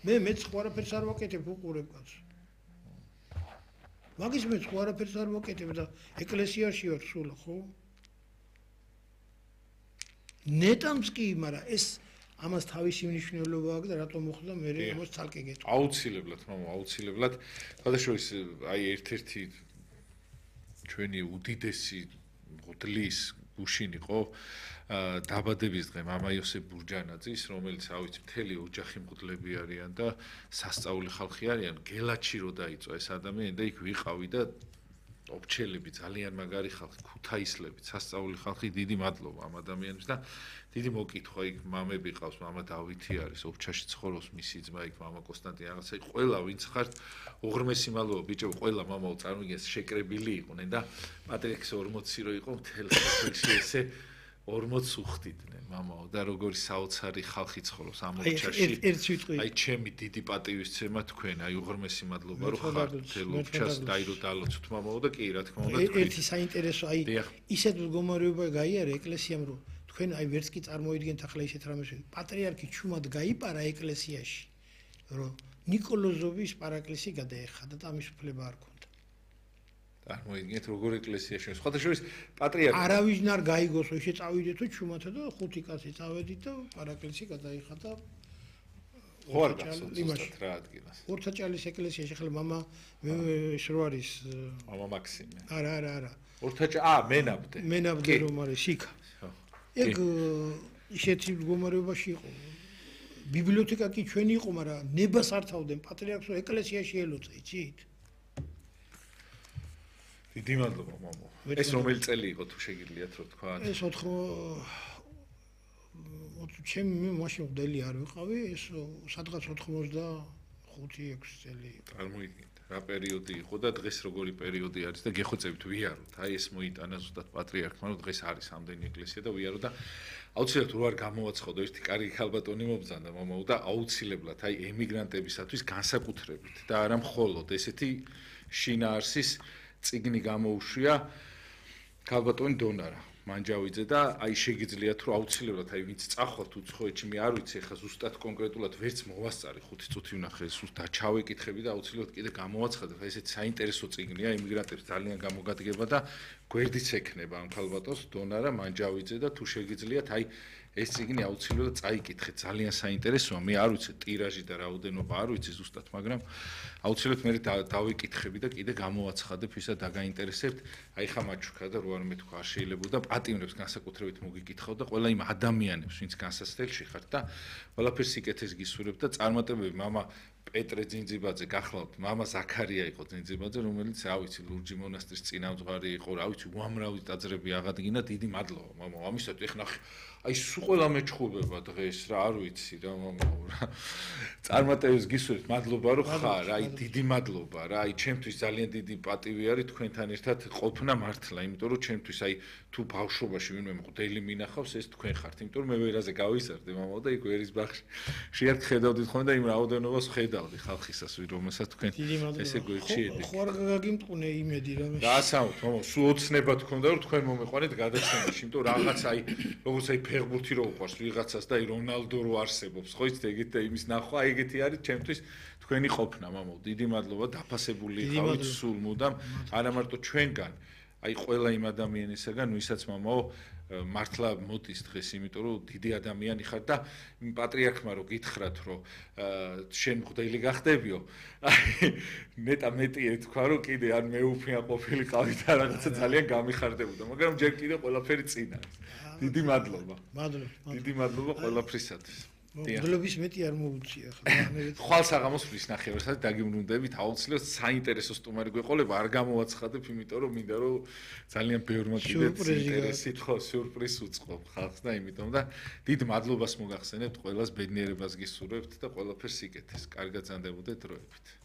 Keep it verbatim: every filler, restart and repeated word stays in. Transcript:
მე მეც ხო არაფერს არ ვაკეთებ უყურებ კაცო. მაგის მეც ხო არაფერს არ ვაკეთებ და ეკლესიაში ვარ სულ ხო? ნეტამს კი, მაგრამ ეს ამას თავისი მნიშვნელობა აქვს და რატომ მოხდა მე ამას ცალკე გეტყვი. აუცილებლად, მამა, აუცილებლად. გადაშორის აი ერთ-ერთი ჩვენი უდიდესი მღვდლის გუშინ იყო დაბადების დღე მამა იოსებ ბურჯანაძის, რომელიც ავიც მთელი ოჯახი მღვდლები არიან და სასწაული ხალხი არიან, გელაჩი რო დაიწვა ეს ადამიანი და იქ ვიყავი და ოფჩელები ძალიან მაგარი ხალხი, ქუთაისლები, სასწაული ხალხი, დიდი მადლობა ამ ადამიანებს და დიდი მოკითხვა იქ მამები ყავს, მამა დავითი არის, ოფჩაში ცხოვრობს მისი ძმა იქ მამა კონსტანტინე რაღაცა, ყველა ვინც ხართ უღრმესი მადლობა ბიჭო, ყველა მამაო წარმოგიდგენთ შეკრებილი იყვნენ და პატრიარქის ორმოცი რო იყო მთელ საქართველოში ესე ორმოცი უხდიდნენ მამაო და როგორი საოცარი ხალხი ცხოვრობს ამ ოფჩაში. აი ჩემი დიდი პატივისცემა თქვენ, აი უღრმესი მადლობა რომ ხართ მთელ ოფჩას დაირო დალოცოთ მამაო და კი რა თქმა უნდა თქვენ. ერთი საინტერესო აი ისეთ მდგომარეობა გაიარა ეკლესიამ რომ თქვენ აი ვერც კი წარმოიდგენთ ახლა ისეთ რამეს პატრიარქი ჩუმად გაიპარა ეკლესიაში რომ ნიკოლოზოვის პარაკლისი გადაეხადა და ამის უფლება არ ქონდა. წარმოიდგინეთ როგორ ეკლესიაში სხვათა შორის პატრიარქი არავინ არ გაიგოს ისე წავიდეთო ჩუმათა და ხუთი კაცი წავედით და პარაკლისი გადაიხადა ხო არ გახსოვთ რა ადგილას ორთაჭალის ეკლესიაში ახლა მამა ეს რო არის მამა მაქსიმე არა არა არა ორთაჭა აა მენაბდე მენაბდე რომ არის იქა ეგ ისეთი მდგომარეობაში იყო ბიბლიოთეკა კი ჩვენი იყო მაგრამ ნებას არ თავდნენ პატრიარქს ეკლესიაში ელოცა იცით დიდი მადლობა მამო. ეს რომელი წელი იყო თუ შეგიძლიათ რო თქვა? ეს ოთხ ჩემი მე მაშინ მდელი არ ვიყავი, ეს სადღაც ოთხმოცდახუთი ექვსი წელი იყო. წარმოიდგინეთ, რა პერიოდი იყო და დღეს როგორი პერიოდი არის და გეხოცებით ვიაროთ. აი ეს მოიტანა ზუსტად პატრიარქმა, რომ დღეს არის ამდენი ეკლესია და ვიარო და აუცილებლად რო არ გამოვაცხადო ერთი კარგი ხალბატონი მობრძანდა მამაო და აუცილებლად აი ემიგრანტებისათვის განსაკუთრებით და არა მხოლოდ ესეთი შინაარსის წიგნი გამოუშვია ქალბატონი დონარა მანჯავიძე და აი შეგიძლიათ რომ აუცილებლად აი ვინც წახვალთ უცხოეთში მე არ ვიცი ახლა ზუსტად კონკრეტულად ვერც მოვასწარი ხუთი წუთი ვნახე სულ დაჩავეკითხები და აუცილებლად კიდე გამოვაცხადე ხა ესეთი საინტერესო წიგნია იმიგრანტებს ძალიან გამოგადგება და გვერდიც ექნება ამ ქალბატონს დონარა მანჯავიძე და თუ შეგიძლიათ აი ეს წიგნი აუცილებლად წაიკითხეთ ძალიან საინტერესოა მე არ ვიცი ტირაჟი და რაოდენობა არ ვიცი ზუსტად მაგრამ აუცილებლად მე დავიკითხები და კიდე გამოვაცხადებ ისა დაგაინტერესებთ აი ხა მაჩუქა და რო არ მეთქვა არ შეიძლება და პატიმრებს განსაკუთრებით მოგიკითხავ და ყველა იმ ადამიანებს ვინც განსასწრებში ხართ და ყველაფერს სიკეთეს გისურვებ და წარმატებები მამა პეტრე ძინძიბაძე გახლავთ მამა ზაქარია იყო ძინძიბაძე რომელიც რა ვიცი ლურჯი მონასტრის წინამძღვარი იყო რა ვიცი უამრავი ტაძრები აღადგინა დიდი მადლობა მამა ამისათვის ეხლა აი სულ ყველა მეჩხუბება დღეს რა არ ვიცი რა მამაო რა წარმატებებს გისურვებთ მადლობა რომ ხარ აი დიდი მადლობა რა აი ჩემთვის ძალიან დიდი პატივი არის თქვენთან ერთად ყოფნა მართლა იმიტომ რომ ჩემთვის აი თუ ბავშვობაში ვინმე მღვდელი მინახავს ეს თქვენ ხართ იმიტომ რომ მე ვერაზე გავიზარდე მამაო და იქ ვერის ბაღში შეერთ ხედავდით ხოლმე და იმ რაოდენობას ხედავდი ხალხისას რომელსაც თქვენ ესე გვერდში ხო არ გაგიმტყუნე იმედი რა რა ასაუთ მამაო სულ ოცნება თქონდა რომ თქვენ მომეყვანეთ გადაცემაში იმიტომ რაღაც აი როგორც აი ფეხბურთი რო უყვარს ვიღაცას და აი რონალდო რო არსებობს ხო იცით ეგეთ და იმის ნახვა ეგეთი არის ჩემთვის თქვენი ყოფნა მამაო დიდი მადლობა დაფასებული ხავით სულ მუდამ არა მარტო ჩვენგან აი ყველა იმ ადამიანისაგან ვისაც მამაო მართლა მოდის დღეს იმიტომ რომ დიდი ადამიანი ხარ და პატრიარქმა რო გითხრათ რომ შენ მღვდელი გახდებიო აი მეტა მეტი ეთქვა რომ კიდე არ მეუფია ყოფილიყავი და რაღაცა ძალიან გამიხარდებოდა მაგრამ ჯერ კიდე ყველაფერი წინ არის დიდი მადლობა მადლობა დიდი მადლობა ყველაფრისათვის მადლობის მეტი არ მოუწია ხა ხვალ საღამოს ფრის ნახევარსაც დაგიბრუნდებით აუცილებლად საინტერესო სტუმარი გვეყოლება არ გამოვაცხადებ იმიტომ რომ მინდა რომ ძალიან ბევრმა კიდე ინტერესი ხო სიურპრიზ უწყობ ხალხს და იმიტომ და დიდ მადლობას მოგახსენებთ ყველას ბედნიერებას გისურვებთ და ყველაფერს იკეთეს კარგად ზანდებოდეთ დროებით